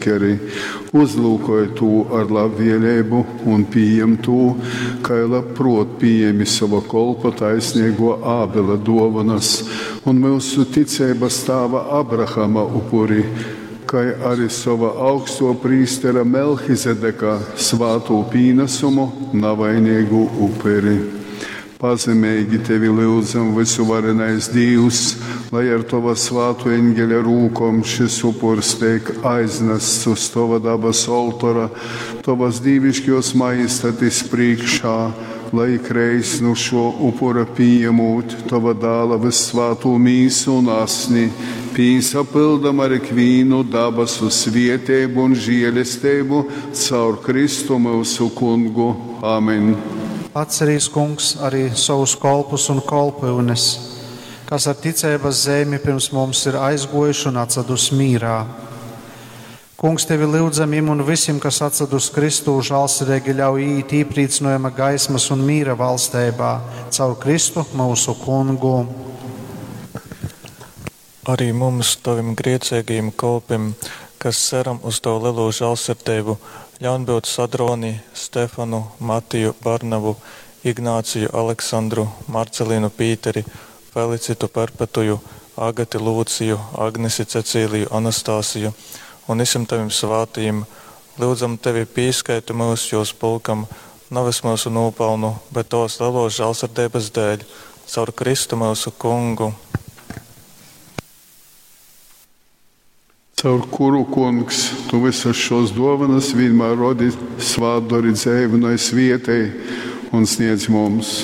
Keri, uzlyukoj tū ar labvēlību un pījem tū, kai labprōt pījemi sova kolpa taisneigō Ābela dōvonas un myusu ticeibas tāva Abrahama upuri, kai ari sova augstō prīstera Melchizedeka svātū pīnasumu, navaineigu uperi. Pazemeigi tevi lyudzam, vysuvarenais Dīvs, lai ar tova svātō eņgeļa rūkom šys upurs teik aiznasts uz tova dabasu oltora, tovas dīviškōs majestatis prīškā, lai ikreiz nu šō upura pījemūt tova dāla vyssvātū mīsu un asni, pīsapyldam ar ikvīnu dabasu svieteibu un žielesteibu caur Kristu myusu kungu. Amen. Atcerīs, kungs, arī savus kolpus un kolpyunes, kas ar ticeibas zeimi pirms mums ir aizguojuši un atsadus mīrā. Kungs, tevi lyudzam im un visim, kas atsadus Kristū, žālsirdīgi ļauj iet iepriecinājuma gaismas un mīra valsteibā, caur Kristu mūsu kungu. Arī mums, tavim griecīgajiem kolpim, kas ceram uz tavu lielo žēlsirdību, ļaun būt Sadroni, Stefanu, Matiju, Barnabu, Ignāciju, Aleksandru, Marcelīnu Pīteri, Felicitu Perpetuju, Agati Lūciju, Agnesi Cecīliju Anastasiju un visiem tavim svētajiem. Lūdzam tevi pīskaiti mūs jūs pulkam, nevis mūsu nopelnu, bet tavas lielos žēlsirdības dēļ, caur Kristu mūsu kungu. Caur kuru, kungs, tu visas šos dovanas vienmēr rodi, svātdori dzēvinoj svietei un sniedz mums.